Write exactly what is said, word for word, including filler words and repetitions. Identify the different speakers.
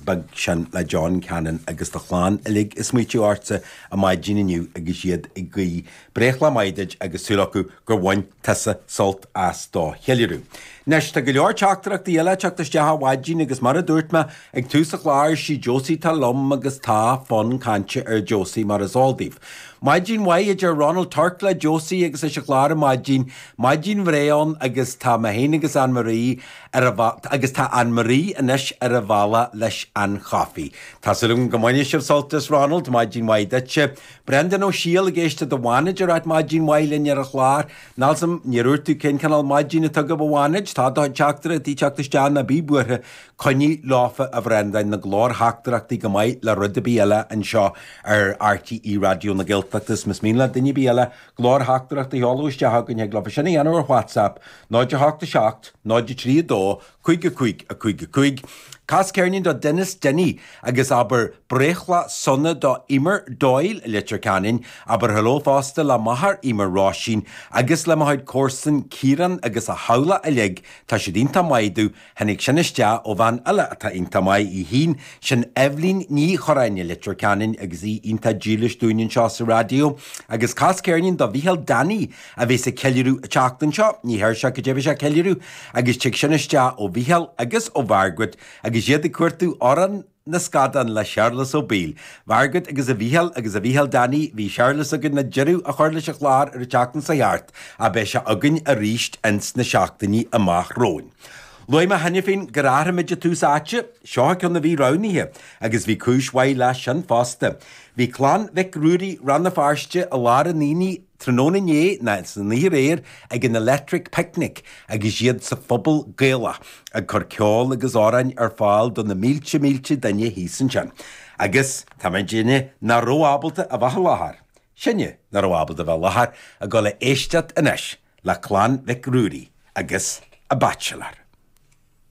Speaker 1: beag sin le John Cannon agus do chlann uilig ag smaoitiú ortsa ar maidin inniu agus iad ag guí breithlá maith duit agus súil acu gur bhain tusa sult as do cheiliúradh. Anois tá go leor teachtaireachtaí eile ag teacht isteach ar maidin agus mar a dúirt mé ag tús an chláir sí Josie atá liom agus tá fonn cainte ar Josie mar is eol daoibh. Maidin mhaith a deir Ronald Turk le Josie agus leis an chlár ar maidin, maidin bhreá ann agus tá mé féin agus Anne Marie ar a agus tá Anne Marie anois ar a bhealach leis an chaife. Tá súil agam go mbainfidh sibh sult as Ronald, maidin mhaith duitse. Brendan Ó Siail ag éisteacht do mhanager at maidin mhaith linn ar an chlár. Nalsam níor dhúirt tú cén cineál maidin atá agaibh a mhanager, tá do teachtaireachtaí ag teacht isteach ná bí buartha coinnigh leofa a Bhrendáin na glórtheachtaireachtaí go maith le rud ar bith eile anseo ar RTÉ Raidió na Gaeltachta is más mian le duine ar bith eile glórtheachtaireacht a sheoladh isteach chugainn thig leofa sin a dhéanamh ar WhatsApp náid a hocht a seacht, náid a trí a dó, cúig a cúig, a cúig a cúig. Cas ceirnín do Denis Denny agus abair breithlá sona do Emer Doyle i Leitir Ceanainn, abair hello fosta le máthair Emer Róisín agus le mo chuid comharsan Ciarán agus a theaghlach uilig, tá siad iontach maith domh, tháinig sin isteach ó bhean eile atá iontach maith í féin, sin Eibhlín Ní Chorráin i Leitir Ceanainn agus í iontach dílis dúinn anseo sa raidió. Agus cas ceirnín do Mhícheál Danny a bheas ag ceiliúradh an tseachtain seo, ní deir sé cad é a bheas sé ag ceiliúradh, agus tig sin isteach ó Mhícheál agus ó Mhargaret agus iad ag cuartú Amhrán na Scadán le Séarlas Ó Baoill. Margaret agus a Mhícheál agus a Mhícheál Danny, bhí Séarlas againn le deireadh a chur leis an chlár ar an tseachtain seo thart, ach beidh sé againn arís ins na seachtainí amach romhainn. Luaigh mé cheana féin gur athraigh muid an tús áite, seo ceann a bhí roghnaithe, agus bhí cúis mhaith leis sin fosta. Bhí clann Mhic Ruairí Rann na Feirste i lár an aonaigh tráthnóna inné ná san oíche aréir ag an Electric Picnic agus iad sa phuball Gaelach ag cur ceol agus amhráin ar fáil do na mílte mílte duine thíos ansin. Agus tá muidinne nach raibh ábalta a bheith i láthair. Sinne nach raibh ábalta a bheith i láthair ag dul a éisteacht anois le clann Mhic Ruairí agus a Bachelor.